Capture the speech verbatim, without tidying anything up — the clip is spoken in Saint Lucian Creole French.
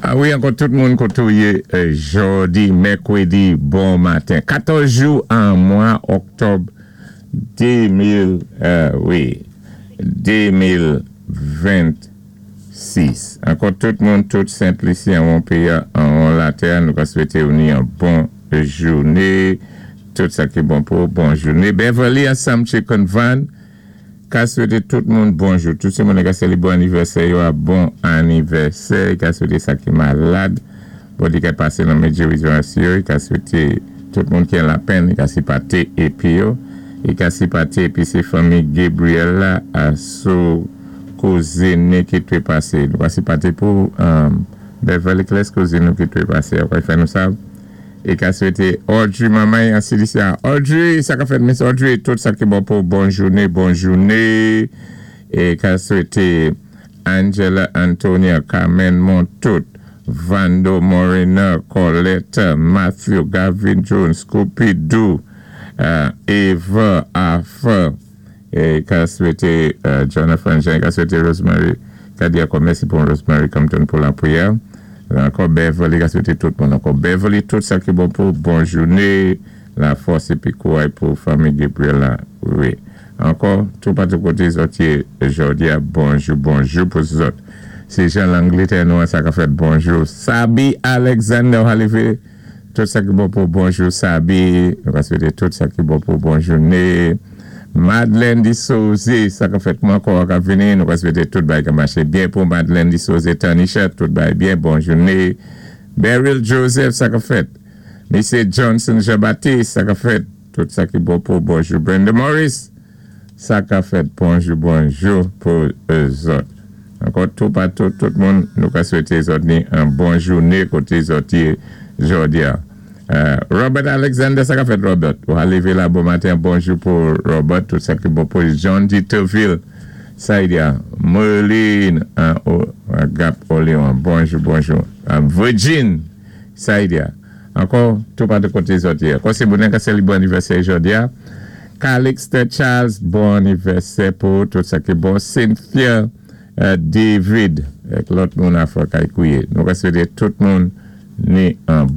A wi, ankò tout moun koté ou yé jòdi, mèkwédi, bon maten. katòz jou an mwa òktòb de mil, wi, de mil vennsis. Ankò tout moun, tout Sent Lisi an won péyi an won latè, nou ka swété ou ni an bon jouné, tout sa ki bon pou, bon jouné. Beverly ansanm Chicken Van, ka swété tout moun bonjou. Tout sé moun ka sé bon anivèsè, yo a bon anivèsè, ka swété sa ki malad, bon di ka pasé nan medyo yo, ka swété tout moun ki an lapenn, ka sipaté épi yo, é ka sipaté épi sé fanmi Gabriel la a sou kouzin ki té pasé. Nou ka sipaté pou Beverly Kles kouzin ki té pasé. Akway fè nou sav. É ka swété Audrey Mamay an Silisia. Audrey, sa ka fèt Miss Audrey, tout sa ki bon pou bon jouné, bon jouné. É ka swété Angela Antonia, Carmen Montout, Vando Morena, Colette, Matthew, Gavin Jones, Scooby-Doo, Eva, Arthur, é ka swété Jonathan Jean, ka swété Rosemary, ka di ankò mèsi pou Rosemary Compton pou lapwiyè. Ankò Beverly, ka swété tout moun. Ankò Beverly, tout sa ki bon pou bon jouné, lafòs épi kouway pou fanmi Gabriel la. Wi. Ankò, tout patou koté zòt yé jòdi a, bonjou, bonjou pou zòt. Sé jan Langlétè nou an sa ka fèt bonjou. Sabi Alexander Halivé, tout sa ki bon pou bonjou Sabi, nou ka swété tout sa ki bon pou bon jouné. Madeleine Di Souze, sa ka fèt mwen ankò ka vini, nou ka swété tout bay ka maché byen pou Madeleine Di Souze, Tanisha, tout bay byen, bon jouné. Beryl Joseph, sa ka fèt. Misye Johnson Jean-Baptiste, sa ka fèt, tout sa ki bon pou bonjou. Brenda Morris, sa ka fèt, bonjou, bonjou pou zòt. Ankò tout patou, tout moun, nou ka swété zòt ni an bon jouné koté zòt yé jòdi a. Robert Alexander, sa ka fèt Robert. Ou a lévé la bon maten, bonjou pou Robert, tout sa ki bon pou John Ditterville, sa y a, Merlin, Gap Oleon, bonjou, bonjou. Virgin, sa y a. Ankò, tout patou koté zòt yé. Ankò sé bonen ka sé li bon anivèsè jòdi a. Calixte Charles, bon anivèsè pou tout sa ki bon. Cynthia David, ek lòt moun a fò kay kouye. Nou ka swété tout moun ni an